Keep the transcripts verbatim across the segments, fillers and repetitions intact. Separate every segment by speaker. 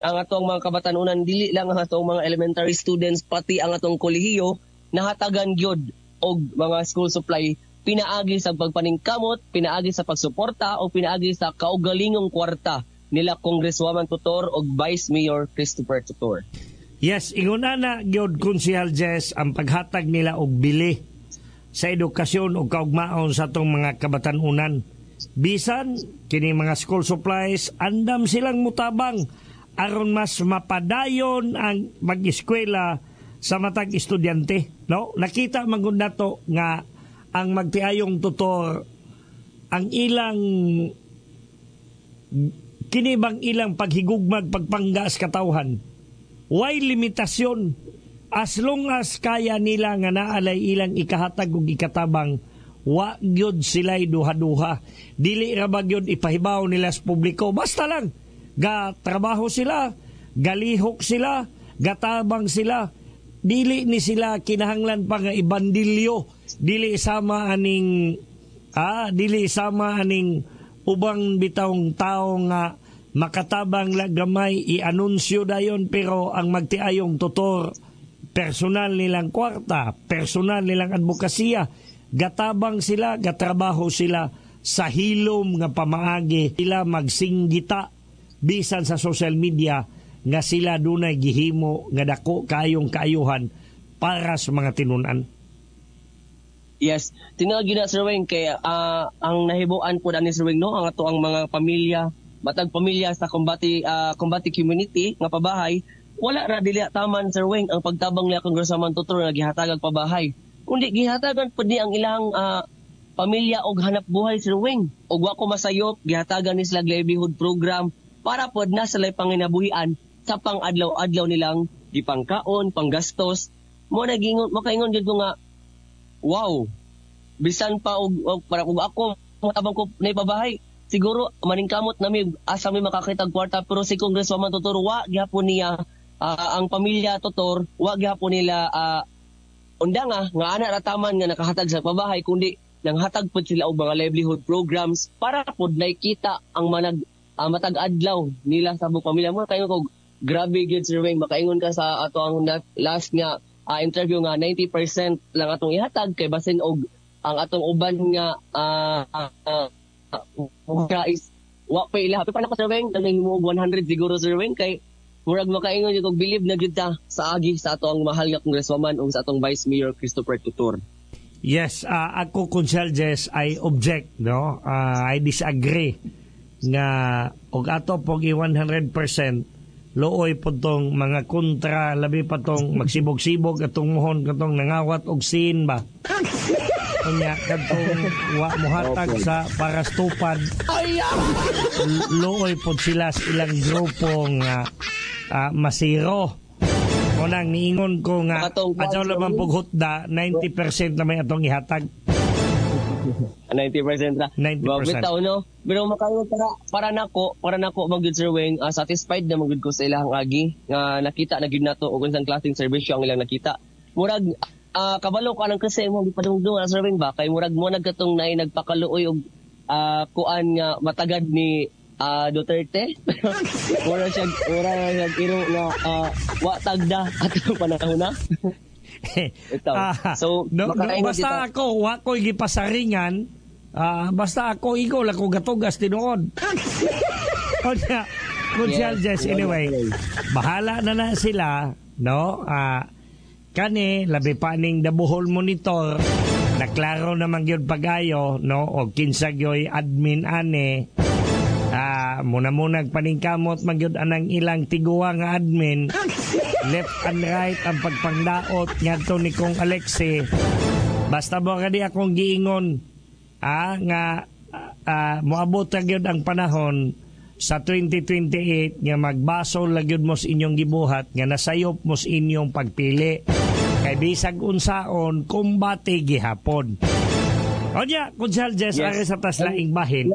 Speaker 1: Ang atong mga kabatanunan, dili lang ang atong mga elementary students, pati ang atong kolehiyo nahatagan gyud og mga school supply pinaagi sa pagpaningkamot, pinaagi sa pagsuporta o pinaagi sa kaugalingong kwarta nila Congresswoman Tutor og Vice Mayor Christopher Tutor.
Speaker 2: Yes, ingon ana gyud, Konsehal Jess, ang paghatag nila og bili sa edukasyon o kaugmaon sa atong mga kabatanunan. Bisan kini mga school supplies, andam silang mutabang aron mas mapadayon ang mag-eskwela sa matag estudyante, no? Nakita man gud nato nga ang magtiayong Tutor, ang ilang kini bang ilang paghigugmag, pagpanggas katawhan, way limitasyon. As long as kaya nila nga naalay ilang ikahatag ug ikatabang, wa gyud sila'y duha-duha. Dili ra ba gyud ipahibaw nila sa publiko, basta lang ga trabaho sila, galihok sila, gatabang sila. Dili ni sila kinahanglan pa nga ibandilyo. Dili sama aning ah dili sama aning ubang bitawng tao nga makatabang la gamay, i-anunsyo dayon. Pero ang magtiayong Tutor, personal nilang kwarta, personal nilang advokasya, gatabang sila, gatrabaho sila sa hilom nga pamaagi. Sila magsinggita bisan sa social media nga sila dunay gihimo nga dako kayong kaayuhan para sa mga tinunan.
Speaker 1: Yes, tinuod gyud na, Sir Weng, kay ah, ang nahibuan po ani, Sir Weng, no, ang ato ang mga pamilya, matag pamilya sa Kumbati ah, Kumbati community nga pabahay, wala ra dili taman, Sir Weng, ang pagtabang niya Congresswoman Tutor nga gihatagag pabahay. Kundi gihatagan pud ni ang ilang ah, pamilya og hanap buhay, Sir Weng. Og wa ko masayop, gihatagan ni sila livelihood program para pod na sila panginabuhian sa pang-adlaw-adlaw nilang gipangkaon, panggastos. Mo nagingon, makaingon gyud ko nga wow, bisan pa og, og para kung ako matabang ko na ipabahay, siguro maningkamot nami asa mi makakita og kwarta. Pero si Congresswoman Tutor, wa gyapon niya ah, ang pamilya Tutor, wa gyapon nila uh, unda nga nga ana ra taman nga nakahatag sa pabahay, kundi nanghatag pud sila og mga livelihood programs para pud nakita ang manag ah, matag adlaw nila sa buong pamilya mo. Kayo kog grabe gyud, Sir Weng, makaingon ka sa ato ang na- last nga ah, interview nga ninety percent lang atong ihatag kay basin og ang atong uban nga ah uh, uh, is wa pa ila. Happy pa nako, Sir Weng, nang og one hundred siguro, Sir Weng, kay murag makaingon jud og believe na gyud ta sa agi sa ato ang mahal nga congresswoman ug sa atong Vice Mayor Christopher Tutor.
Speaker 2: Yes, ah, ako, Konsehal Jess, I object, no? Ah, I disagree nga og ato pog i one hundred percent, luoy po tong mga kontra, labi pa tong magsibog-sibog atong muhon katong nangawat og sin ba. Unya kadtong wa mohatag sa para sa tupad. Luoy pod sila sa ilang grupo nga ah, masiro. Unang niingon ko nga
Speaker 1: Katong
Speaker 2: adyaw lamang pug hutda, ninety percent na may atong ihatag.
Speaker 1: ninety percent ra.
Speaker 2: ninety percent.
Speaker 1: Well, bitaw, no? Pero makaingon para para nako, para nako magyud, Sir Weng, ah, satisfied na magyud ko sa ilang agi nga nakita na gyud nato og unsang klaseng serbisyo ang ilang nakita. Murag ah, kabalo ko anang kasi mo gipadungdung na, Sir Weng, ba kay murag mo nagkatong naay nagpakaluoy og ah, kuan nga matagad ni ah, Duterte. Mura siya mura siya iro nga ah, wa tagda atong panahon na. Ito.
Speaker 2: Ah,
Speaker 1: So,
Speaker 2: no, no,
Speaker 1: makaingon
Speaker 2: basta
Speaker 1: kita.
Speaker 2: Ako, wa ko'y gipasaringan. Ah, basta ako, ikaw lang ko gatugas tinuod. Unya, Konsehal
Speaker 1: Yes,
Speaker 2: Jess, anyway, bahala na na sila, no? Ah, kani, labi pa ning The Bohol Monitor, naklaro naman gyud pagayo, no? O kinsa gyoy admin ane, ah, muna-munag paningkamot man gyud anang ilang tiguwa nga admin, left and right ang pagpangdaot ngadto ni Kong Alexi. Basta mo kadi akong giingon ah, nga ah, moabot ra gyud ang panahon sa twenty twenty-eight nga magbasol la gyud mo sa inyong gibuhat nga nasayop mo sa inyong pagpili kay bisag unsaon, kumbate gihapon. Onya, Konsehal Jess,
Speaker 1: Yes.
Speaker 2: ari sa taslaing bahin.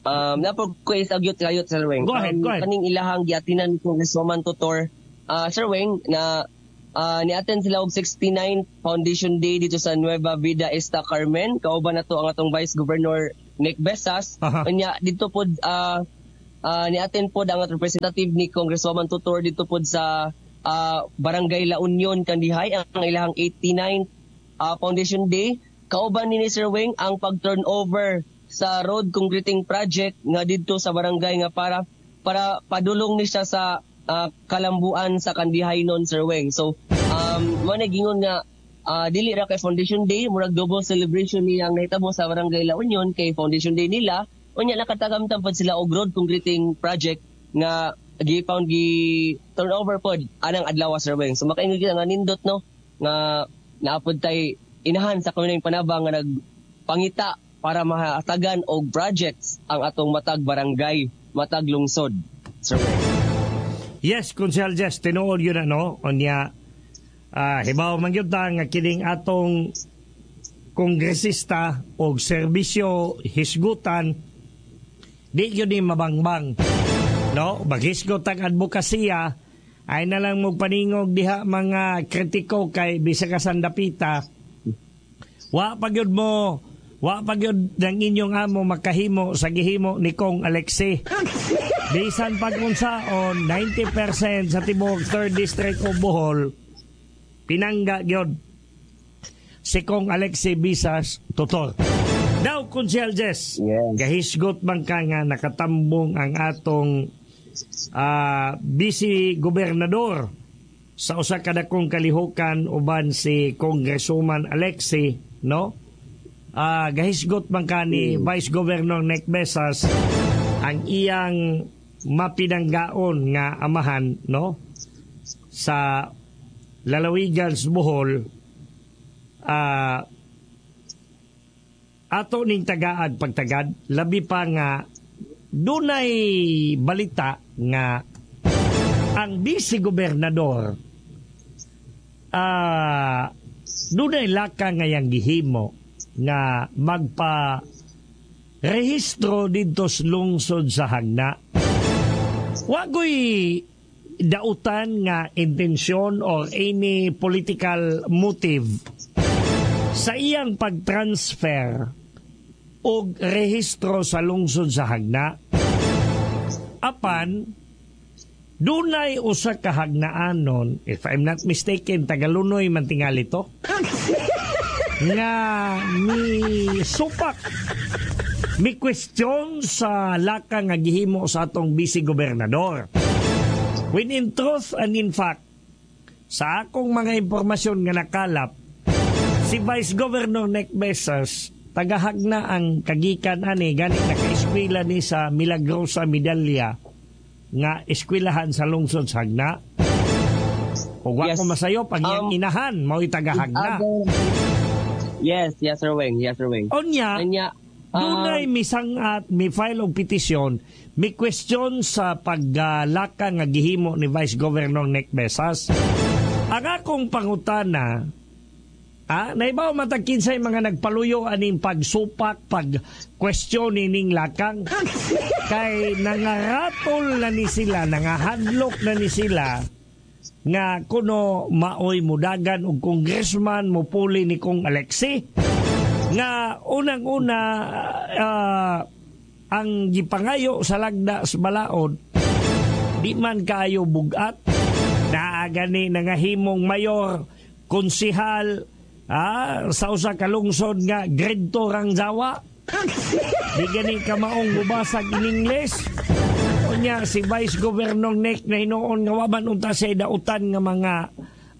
Speaker 1: Um, napag ko is agyot kayot, Sir Weng.
Speaker 2: Go ahead,
Speaker 1: um,
Speaker 2: go ahead.
Speaker 1: Kaning ilahang giatinan Congresswoman Tutor, uh, Sir Weng, na uh, ni-attend sila og sixty-nine Foundation Day dito sa Nueva Vida Sta. Carmen. Kauban na to ang atong Vice Governor Nick Besas.
Speaker 2: Aha.
Speaker 1: Unya dito pod uh, uh, ni-attend pod ang representative ni Congresswoman Tutor dito pod sa uh, Barangay La Union, Kandihay, ang ilahang eighty-ninth uh, Foundation Day. Kauban ni Sir Wing ang pag-turnover sa road concreting project nga didto sa barangay nga para para padulong ni siya sa uh, kalambuan sa Kandihay nun, Sir Wing. So um mo na gingon nga uh, dili ra kay Foundation Day, murag double celebration niyang nahitabo sa Barangay La Union kay Foundation Day nila, unya nakatagamtam pod sila og road concreting project nga gi-found, gi turnover pod anang adlaw, Sir Weng. So makaingon kita nga nindot, no, nga naapod tay inahan sa kanunayng panabang nga nagpangita para mahatagan og projects ang atong matag barangay, matag lungsod, Sir Weng.
Speaker 2: Yes, Konsehal Jess, tinuod yun ano, unya uh, hibaw man gyud ta nga kining atong kongresista og serbisyo hisgutan di yun ni mabangbang. No, maghisgot ang advokasya ay na lang mo paningog diha mga kritiko kay bisa ka sandapita wa pa gyud mo wa pa gyud ng inyong amo makahimo sa gihimo ni Kong Alexi. Bisan pag unsaon, ninety percent sa tibuok third District of Bohol pinangga gyud si Kong Alexi Bisas Tutor. Now, Konsehal Jess,
Speaker 1: Yes.
Speaker 2: gahisgot man ka nga nakatambong ang atong ah, vice gobernador sa usa ka dakong kalihukan uban si Congresswoman Alexi, no? Ah, gahisgot man ka ni Vice Governor Nick Besas ang iyang mapinanggaon nga amahan, no? Sa lalawigan sa Bohol, ah ato ning tagaad pagtagad, labi pa nga dunay balita nga ang vice gobernador ah dunay laka nga yang gihimo nga magpa rehistro didto sa lungsod sa Jagna. Wagoy dautan nga intensyon or any political motive sa iyang pag-transfer og rehistro sa lungsod sa Jagna. Apan, dunay usa ka hagnaanon, if I'm not mistaken, Tagalunoy man tingali to, nga mi supak, mi question sa laka nga gihimo sa atong vice gobernador. When in truth and in fact, sa akong mga impormasyon nga nakalap, si Vice Governor Nick Besas, tagahagna ang kagikan ani, gani naka-eskwela ni sa Milagrosa Medalya nga eskwelahan sa lungsod sa Jagna. Ug wa
Speaker 1: Yes.
Speaker 2: ko masayop ang iyang
Speaker 1: Um,
Speaker 2: inahan mao'y tagahagna.
Speaker 1: Yes, yes, Sir Weng. Yes, Sir Weng.
Speaker 2: Unya,
Speaker 1: Anya, um,
Speaker 2: dunay misangat, mi file og petisyon, mi question sa paglalaka nga gihimo ni Vice Governor Nick Besas. Ang akong pangutana, ah, naibaw matag kinsay mga nagpaluyo aning pagsupak, pag question ining lakang. Kay nangaratol na ni sila, nangahadlok na ni sila nga kuno maoy mudagan og congressman mupuli ni Kong Alexi nga unang-una ah, ang gipangayo sa lagda sa balaod di man kaayo bugat naa gani nangahimong mayor, konsihal, ah, sa usa ka lungsod nga grade two rang jawa, di gani kamaong mubasag in English. Unya si Vice Governor Nick na hinuon nga wa man unta siya dautan nga mga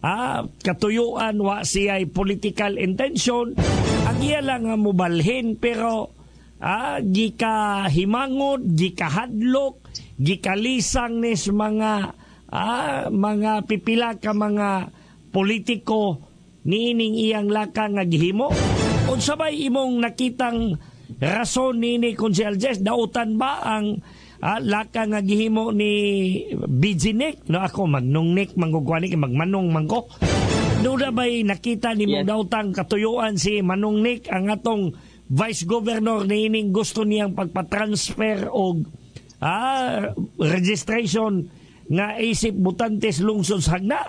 Speaker 2: ah, katuyuan, wa siya political intention, ang iya lang nga mobalhin, pero ah, gika himangod, gikahadlok, gikalisang nis mga ah, mga pipila ka mga politiko niining iyang laka nga gihimo. Unsa bay imong nakitang rason nini, Konsehal Jess? Dautan ba ang ah, laka nga gihimo ni B G Nick? No, ako magnong Nick manggugwani kay magmanong man ko. Doon na ba'y nakita ni mong
Speaker 1: Yes.
Speaker 2: dautang katuyuan si Manong Nick, ang atong Vice Governor, niining gusto niyang pagpa-transfer og ah, registration nga isip butantes lungsod sa Jagna?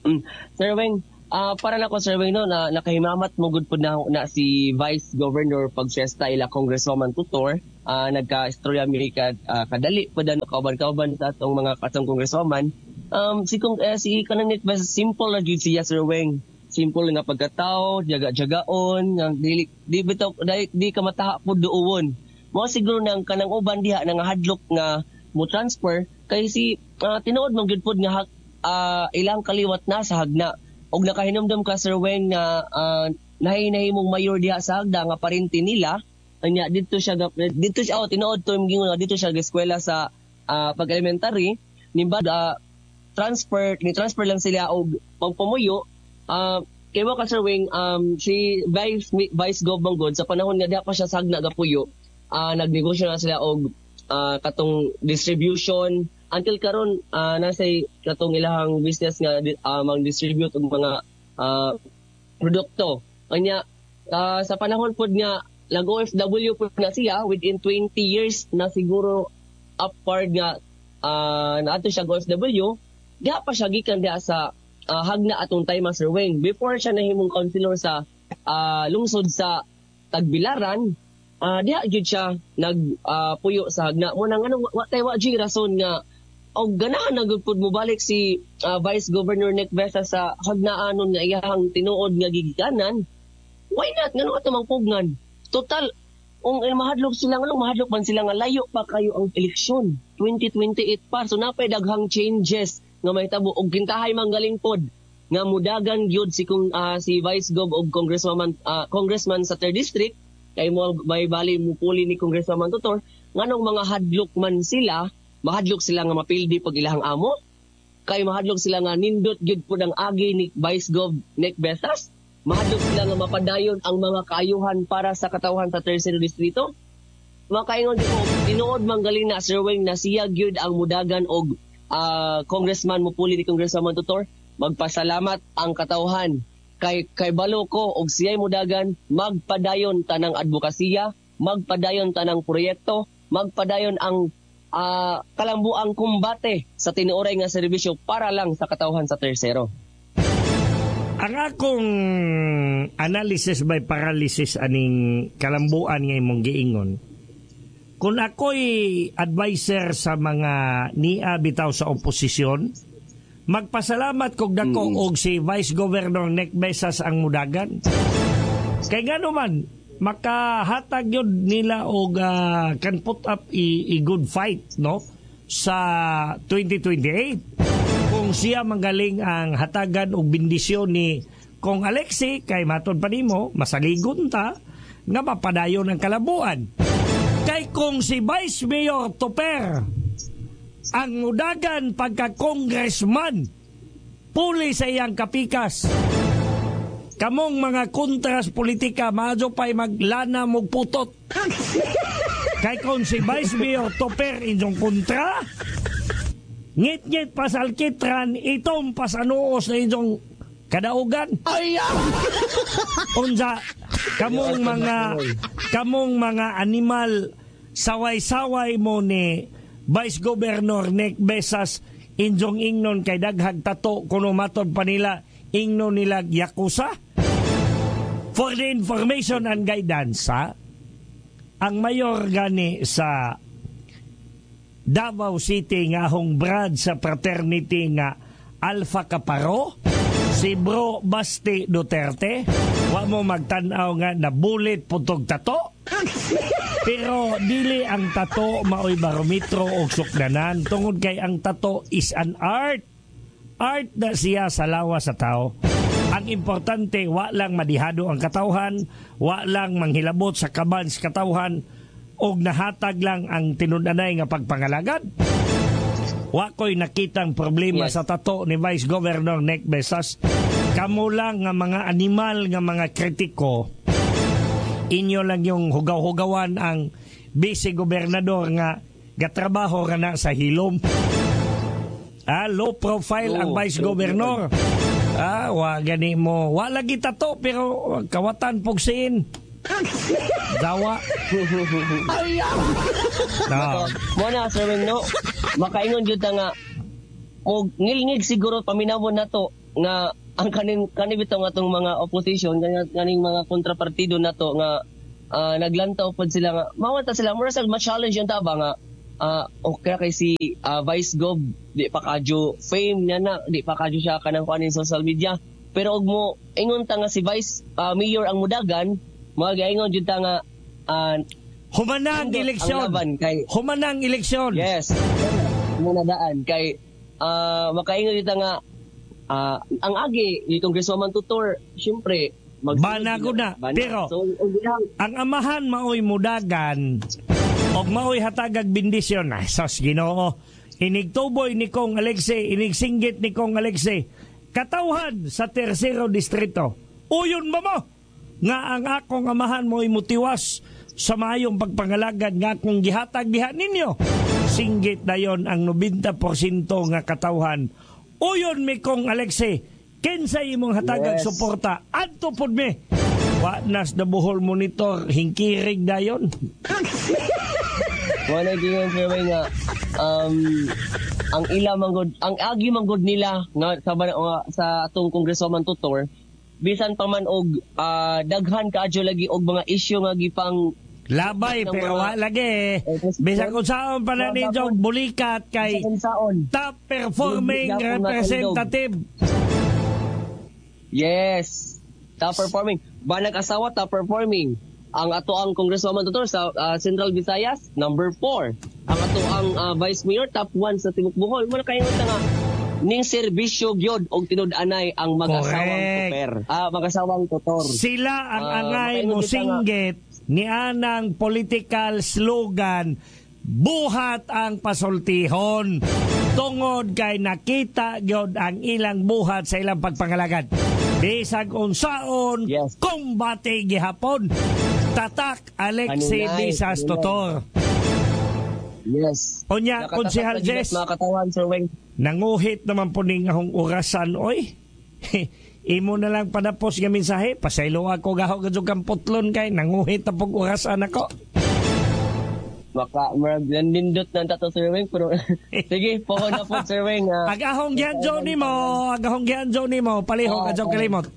Speaker 1: Mm. Sir Weng, Ah, para na ko, Sir Weng, no, na nakahimamat mo gud pud na, na si Vice Governor pag-fiesta ila Congresswoman Tutor. Ah, nagka-istorya mi ka, ah, kadali pud ano kauban-kauban sa atong mga katong congresswoman. Um si kung eh, si kanang basta simple ra gyud siya, Sir Weng. Simple nga pagkatao, jaga-jagaon, nga dili di bitaw di, di ka mataha pud duuwon. Mao siguro nang kanang uban diha nang hadlok nga mo transfer kay si ah, tinuod man gyud pud nga ah, ilang kaliwat na sa Jagna. Og nakahinumdum ka, Sir Weng, nga uh, nahi-nahimong mayor diha sa Agda nga parente nila. Anya didto siya didto siya, oh, tinuod to yung nga didto siya eskwela sa ah, pag-elementary nimba uh, transfer ni transfer lang sila og pagpamuyo. uh, kay mo ka, Sir Weng, um, si Vice Vice Gov Manggod sa panahon nga diha pa siya sa Jagna gapuyo, uh, nagnegosyo na sila og ah, katong distribution until karon uh, nasa katong ilahang business nga uh, mag-distribute og mga ah, produkto. Anya ah, sa panahon pod nga nag O F W pod na siya within twenty years na siguro upward nga uh, naadto siya O F W, diha pa siya gikan diha sa ah, Jagna atong time, Sir Wayne. Before siya nahimong councilor sa ah, lungsod sa Tagbilaran, ah diha gyud siya nag ah, puyo sa Jagna. Mo nang ano, wa tay wa gyud rason nga og ganahan na gud pud mobalik si ah, Vice Governor Nick Besa sa Jagnaanon nga iyahang tinuod nga gigikanan. Why not? Ngano ato mang pugnan? Total, kung eh, mahadlok sila, nganong mahadlok man sila nga layo pa kayo ang eleksyon? twenty twenty-eight pa. So napay daghang changes nga mahitabo og kintahay manggaling pod nga mudagan gyud si kung ah, si Vice Gov og congressman ah, congressman sa third district kay mo may bali mupuli ni Congresswoman Tutor. Nganong mga hadlok man sila? Mahadlok sila nga mapildi pag ilahang amo? Kay mahadlok sila nga nindot gyud pud ang agi ni Vice Gov Nick Besas? Mahadlok sila nga mapadayon ang mga kaayuhan para sa katawhan sa Tercero Distrito? Makaingon di ko, tinuod man galing na, Sir Wayne, na siya gyud ang mudagan og ah, congressman mupuli ni Congresswoman Tutor. Magpasalamat ang katawhan kay kay balo ko og siya'y mudagan, magpadayon tanang advokasya, magpadayon tanang proyekto, magpadayon ang ah, kalambuang kumbate sa tinuoray nga serbisyo para lang sa katawhan sa Tercero.
Speaker 2: Ang akong analysis by paralysis aning kalambuan nga imong giingon. Kung ako'y advisor sa mga nia bitaw sa oposisyon, magpasalamat kog dako
Speaker 1: Mm.
Speaker 2: og si Vice Governor Nick Besas ang mudagan. Kay ngano man, makahatag yun nila og ah, can put up a, a good fight, no, sa twenty twenty-eight kung siya manggaling ang hatagan og bendisyon ni Kong Alexi. Kay matod pa nimo, masaligon ta nga mapadayon ang kalambuan. Kay kung si Vice Mayor Toper ang mudagan pagka congressman puli sa iyang kapikas, kamong mga kontras politika maadyo pa'y maglana mog putot. Kay kung si Vice Mayor Toper inyong kontra, ngit-ngit pa sa alkitran, itom pa sa noos na inyong kadaugan. Unsa kamong mga kamong mga animal, saway-saway mo ni Vice Governor Nick Besas, inyong ingnon kay daghag tato kuno, matod pa nila ingnon nila yakuza. For the information and guidance, ha, ang mayor gani sa Davao City nga ahong brad sa fraternity nga Alpha Kaparo, si Bro Basti Duterte, wa mo magtan-aw nga nabulit putog tato? Pero dili ang tato maoy barometro og sukdanan tungod kay ang tato is an art. Art na siya sa lawas sa tao. Ang importante, wa lang madihado ang katawhan, wa lang manghilabot sa kaban sa katawhan, og nahatag lang ang tinud-anay nga pagpangalagad. Wa ko'y nakitang problema
Speaker 1: Yes.
Speaker 2: sa tato ni Vice Governor Nick Besas. Kamo lang nga mga animal nga mga kritiko, inyo lang yung hugaw-hugawan ang vice gobernador nga gatrabaho ra na sa hilom. Ah, low profile ang
Speaker 1: Oo,
Speaker 2: vice
Speaker 1: true.
Speaker 2: governor. Ah, wa gani mo. Wa lagi tato pero kawatan pugsiin. Dawa. No.
Speaker 1: Mo na, Sir Weng, no, makaingon jud ta nga og ngilngig siguro paminawon nato nga Ang kaning kani bitaw nga atong mga opposition, kaning, kaning mga kontrapartido nato nga ah, naglantaw pod sila nga mawata sila, mura sa ma-challenge yung taba nga ah, okay kay si ah, Vice Gov, di pa kadyo fame niya na, di pa kadyo siya kanang kuan social media, pero og mo ingon ta nga si Vice ah, Mayor ang mudagan, mga gaingon jud ta nga ah,
Speaker 2: Humana ang eleksyon.
Speaker 1: Ang laban kay
Speaker 2: Humana ang eleksyon.
Speaker 1: Yes. Muna daan kay ah makaingon dito nga ah, ang agi ni Congresswoman Tutor, syempre
Speaker 2: Bana ko na.
Speaker 1: Bana.
Speaker 2: Pero-
Speaker 1: so, iyang
Speaker 2: Ang amahan maoy mudagan og maoy hatagag bendisyon. Ay, sos Ginoo. Inigtuboy ni Kong Alexei, inigsinggit ni Kong Alexei. Katawhan sa tersero distrito. Uyon ba mo? Nga ang akong amahan mo'y mutiwas sa maayong pagpangalagad nga akong gihatag diha ninyo. Singgit dayon ang ninety percent nga katawhan. Uyon mi, Kong Alexei, kinsay imong hatagag
Speaker 1: Yes.
Speaker 2: suporta? Adto pod mi. Wa nas the Bohol Monitor, hingkirig dayon.
Speaker 1: Mo na gingon, Sir Wayne, nga um ang ila manggod, ang agi manggod nila nga sa nga, sa atong Congresswoman Tutor, bisan pa man og ah, daghan kaadyo lagi og mga issue nga gipang
Speaker 2: Labay
Speaker 1: ng
Speaker 2: pero
Speaker 1: mga-
Speaker 2: wa lagi.
Speaker 1: Eh,
Speaker 2: Bisan kung saan pa na ninyo bulikat kay
Speaker 1: bisan saon
Speaker 2: top performing
Speaker 1: Gyapon nga
Speaker 2: representative.
Speaker 1: Yes. Top performing. Banag asawa, top performing. Ang ato ang Congresswoman Tutor sa ah, Central Visayas, number four. Ang ato ang ah, Vice Mayor, top one sa Timok Bohol. Muna kayo nga ning serbisyo gyud og tinud-anay ang mag-asawang
Speaker 2: Correct.
Speaker 1: tuper. Ah, mag-asawang tutor.
Speaker 2: Sila ang
Speaker 1: Ah,
Speaker 2: angay
Speaker 1: makaingon kita nga.
Speaker 2: mosinggit ni anang political slogan, "Buhat ang pasultihon," tungod kay nakita gyud ang ilang buhat sa ilang pagpangalagad. Bisag unsaon,
Speaker 1: Yes.
Speaker 2: kumbate gihapon. Tatak Alexei
Speaker 1: Kanunay,
Speaker 2: Bisas
Speaker 1: kanunay.
Speaker 2: Tutor.
Speaker 1: Yes.
Speaker 2: Unya,
Speaker 1: Nakatatak
Speaker 2: Konsehal
Speaker 1: na gyud
Speaker 2: Jess.
Speaker 1: mga katawan, Sir Weng.
Speaker 2: Nanguhit naman po ning ahong orasan, oy. Imo na lang panapos nga mensahe. Pasaylo ako gaho gadyo kang putlon kay nanguhit na pog orasan ako.
Speaker 1: Maka, murag nindot na tato, Sir Weng. Pero, sige, pohon na po, Sir Weng. ah.
Speaker 2: Agahong gianjo nimo, agahong gianjo nimo, palihog
Speaker 1: Ah,
Speaker 2: adyo
Speaker 1: ah.
Speaker 2: kalimot.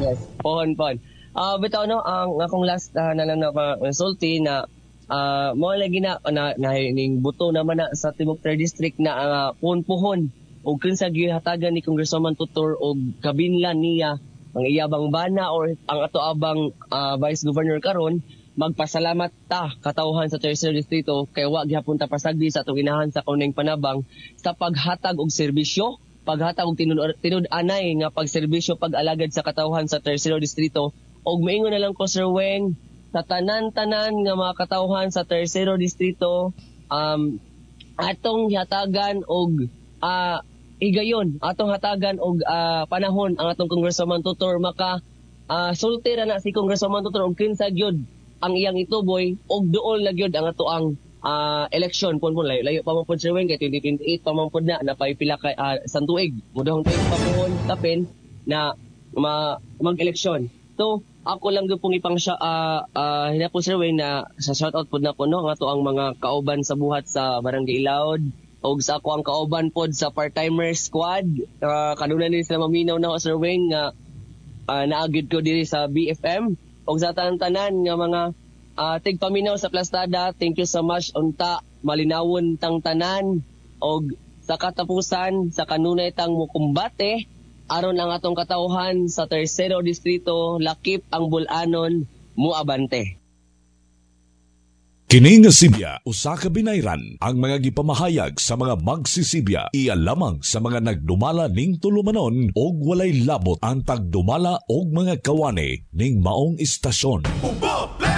Speaker 1: Yes, pohon pohon. Ah, bitaw no, ang akong last ah, na lang na pa- sulti na ah mo lagi na na, na ning buto naman na sa Timok Third District na uh, puhon-puhon og kinsa gihatagan ni Congresswoman Tutor og kabinlan niya ang iyabang bana or ang ato abang ah, Vice Governor karon, magpasalamat ta katawhan sa Tercer Distrito kay wa gihapon ta pasagdi sa atong inahan sa kauning panabang sa paghatag og serbisyo, paghatag og tinud tinud-anay nga pagserbisyo, pag-alagad sa katawhan sa Tercero Distrito. Og maingon na lang ko, Sir Weng, sa tanan-tanan nga mga katawhan sa Tercero Distrito, um atong hatagan og ah, higayon, atong hatagan og ah, panahon ang atong Congresswoman Tutor maka ah, sulti ra na si Congresswoman Tutor og kinsa gyud ang iyang ituboy og duol na gyud ang ato ang ah, election pun pun layo layo pa man pud, Sir Weng, kay twenty twenty-eight pa man pud na napay pila kay uh, san tuig mudahong tuig pa pohon kapin na ma, mag-eleksyon. So ako lang gyud pong ipang siya uh, uh, hinapon, Sir Wayne, na sa shout out pod nako no ang ato ang mga kauban sa buhat sa Barangay Ilaod og sa ako ang kauban pod sa part-timer squad, uh, kanunay ni sila maminaw na Sir Wayne nga uh, naagid ko diri sa B F M, og sa tanan-tanan nga mga uh, tigpaminaw sa Plastada, thank you so much. Unta malinawon tang tanan og sa katapusan, sa kanunay tang mukumbate aron ang atong katawhan sa Tercero Distrito, lakip ang Bulanon, muabante.
Speaker 3: Kini nga sibya usa ka binayran. Ang mga gipamahayag sa mga magsisibya iya lamang sa mga nagdumala ning tulumanon og walay labot ang tagdumala og mga kawani ning maong istasyon.
Speaker 4: Ubo!